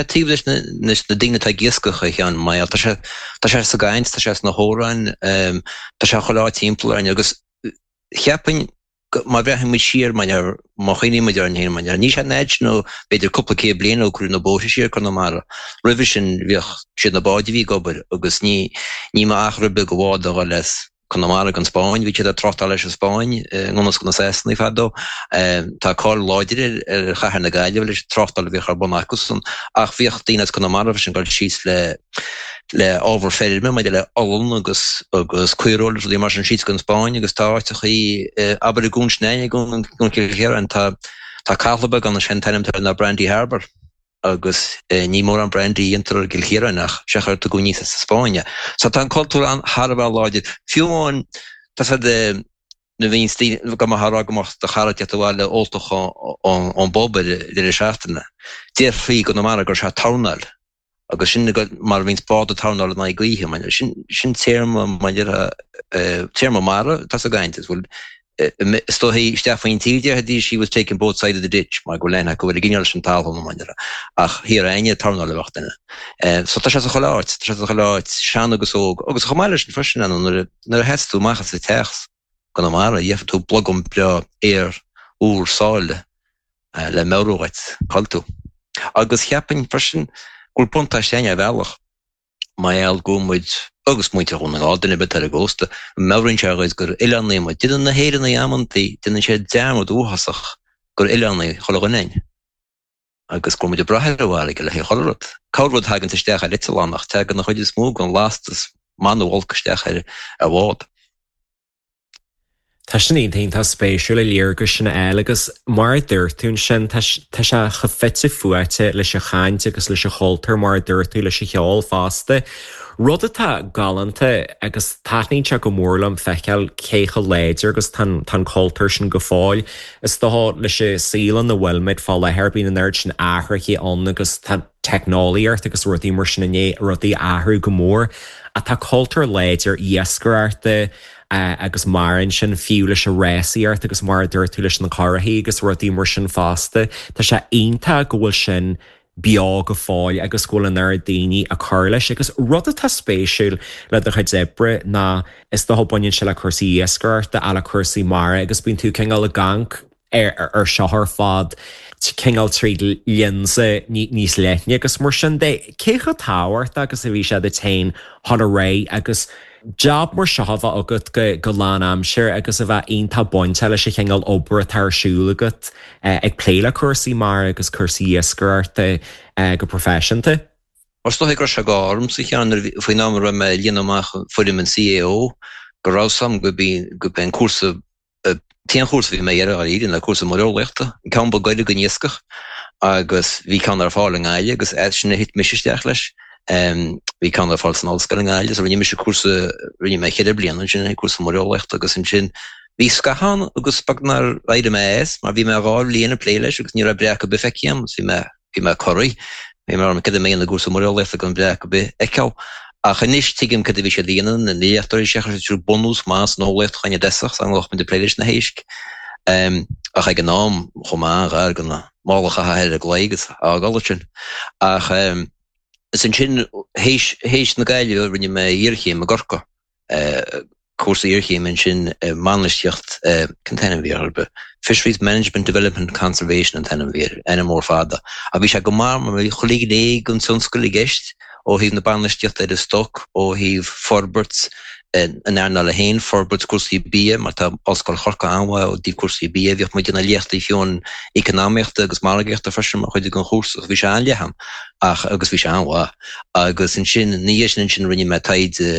Taobh leis na daoine atá ag iascach, a Sheáin, mar tá sé, tá sé sa gcaint, tá sé sna hamhráin, tá sé chuile áit timpeall orainn agus cheapfainn má bhreathnaíonn muid siar, má chuimhníonn muid orainn féin, mar níl sé an fhad sin ó b'fhéidir cúpla céad bliain ó cuireadh na bóithre siar Conamara. Roimhe sin bhíodh, siad na báid a bhí ag obair agus ní, ní mbeadh achar ar bith do bhád a dhul as Conamara go an Spáinn. Bhí siad ag tráchtáil leis an Spáinn i ngan fhios do na Sasanaigh fadó. Tá cáil láidir ar chathair na Gaillimhe leis an tráchtáil a bhíodh ar bun acusan. Ach bhíodh daoine as Conamara freisin ag dul síos le le ábhar feirme maidir le olann agus agus caoireoil agus rudaí mar sin síos go an Spáinn agus tá áiteachaí abair i gCuan Sneaidhe i gCuan Chill Chiaráin tá tá cathla beag ann is é an t-ainm atá air ná Brandy Harbour. agus ní mórán brandy a dhéantar i gCill Chiaráin ach is ea chuir tugadh aníos as an Spáinn é. So tá an cultúr an thar a bheith láidir. Fiú amháin tá siad nuair a bhíonns daoine, go mbeifeá ag rá go mbeadh do chara ag teacht abhaile óltach ón bpub ar deireadh seachtaine, déarfaí i gConamara go raibh sé ag tornáil agus sin mar a bhíonns bád ag tornáil in aghaidh gaoithe. Sin sin téarma mar téarma mara atá sa gcaint is bhfuil Is dóichí isteach faoin tír déarfaidís he was taking both sides of the ditch mar go bhfuil aithne acu ar an gcineál sin talún mar déarfá ach thiar againne tornáil a bheadh duine. So tá sé sa chuile áit, tá sé sa chuile áit, sean agus óg. Agus chomh maith leis sin freisin, nuair a sheas tú amach as an teach i gConamara, gheobhaidh tú blogam breá aer úr sáile le meabhrú dhuit cá bhfuil tú. Agus cheapfainn freisin go bhfuil buntáiste againn ar bhealach. Mar gheall go bhfuil muid, agus muintir Dhún na nGall, duine ar bith atá ar an gcósta, meabhraíonn sé dhuit gur oileánaigh muid. Déanann na hÉireannaigh amantaí, déanann siad dearmad uafásach gur oileánaigh chuile dhuine againn agus go bhfuil muid ag brath ar an bhfarraige le haghaidh chuile rud. Corr rud thaganns isteach ar eitleán ach tagann an chuid is mó den lastas maith nó olc isteach ar bhád. Tá sin iontach iontach spéisiúil an léargas sin a fháil agus mar a dúirt tú ansin, tá tá sé chomh fite fuaite leis an chaint agus leis an chultúr mar a dúirt tú leis an cheol fosta. Rud atá galánta agus taitníonn sé go mór liom feiceáil cé chomh láidir agus tá an tá an cultúr sin go fóill. Is dócha leis an saol ina bhfuil muid fá láthair bíonn an oiread sin athruithe ann agus tá teicneolaíocht agus rudaí mar sin i ndiaidh rudaí a athrú go mór. Ach tá cultúr láidir iascaireachta agus maireann sin fiú leis an rásaíocht agus mar a dúirt tú leis na curachaí agus rudaí mar sin fosta. Tá sé iontach go bhfuil sin beo go fóill agus go bhfuil an oiread daoine ag cur leis. Agus rud atá spéisiúil le do chuid oibre ná is dócha baineann sé le cúrsaí iascaireachta ach le cúrsaí mara agus bíonn tú cineál ag amharc ar seo ar fad cineál tríd lionsa níos leithne agus mar sin de. Cé chomh tábhachtach agus a bhí sé duit féin dhul ar aghaidh agus jab mar seo a bheith agat go lán-aimsir agus a bheith iontach bainteach leis an chineál obair atá ar siúl agat ag plé le cúrsaí mara agus cúrsaí iascaireachta go proifisiúnta? Is dóichí go raibh sé go ormsa a Sheáin nuair a bhí, faoin am a raibh mé ag líonadh amach foirm an CAO, go raibh 's a'm gurb é an cúrsa T-aon chúrsa a bhí mé ag iarraidh dháiríre ná cúrsa muireolaíochta, an ceann ba gaire don iascach agus bhí ceann ar fáil i nGaillimh agus as sin a thit mise isteach leis. Bhí ceann ar fáil san ollscoil i nGaillimh so rinne mise cúrsa, rinne mé cheithre bliana ansin, cúrsa muireolaíochta agus ansin bhí scaitheamh ann agus beag nár éirigh mé as mar bhí mé dhá bhliain ag plé leis agus ní raibh breac ar bith feicthe agam agus bhí mé Bhí mé corraithe. Bhí mé orm cad a mbeidh ina gcúrsa muireolaíochta gan breac ar bith a fheiceáil. Ach anois tuigim cad a bhí siad a dhéanamh, na léachtóirí seo, chuir siad bunús maith san eolaíocht chugainn i dtosach, so go mbeadh muid ag plé leis na héisc. Ach ag an am, chuaigh mé an-ghar do na mála a chaitheamh ar an gclaí agus a fhágáil ansin. Ach is ansin, théis, théis na Gaillimhe, rinne mé iarchéim i gCorcaigh. cúrsa iarchéime ansin i mbainistíocht, cén t-ainm a bhí air, Fisheries Management Development Conservation an t-ainm a bhí air, ainm mór fada. Ach bhí sé go maith mar bhí chuile ghné den tionscal i gceist, ó thaobh na bainistíochta ar an stoc, ó thaobh forbairt an earnála féin, forbairt cúrsaí bia, mar tá Ollscoil Chorcaí an-mhaith ó thaobh cúrsaí bia, bhíodh muid ag déanamh léachtaí fiú in eacnamaíochta agus margaíochta freisin mar chuid den chúrsa, so bhí sé an-leathan ach agus bhí sé an-mhaith. Agus ansin, ina dhiaidh sin ansin rinne mé taighde.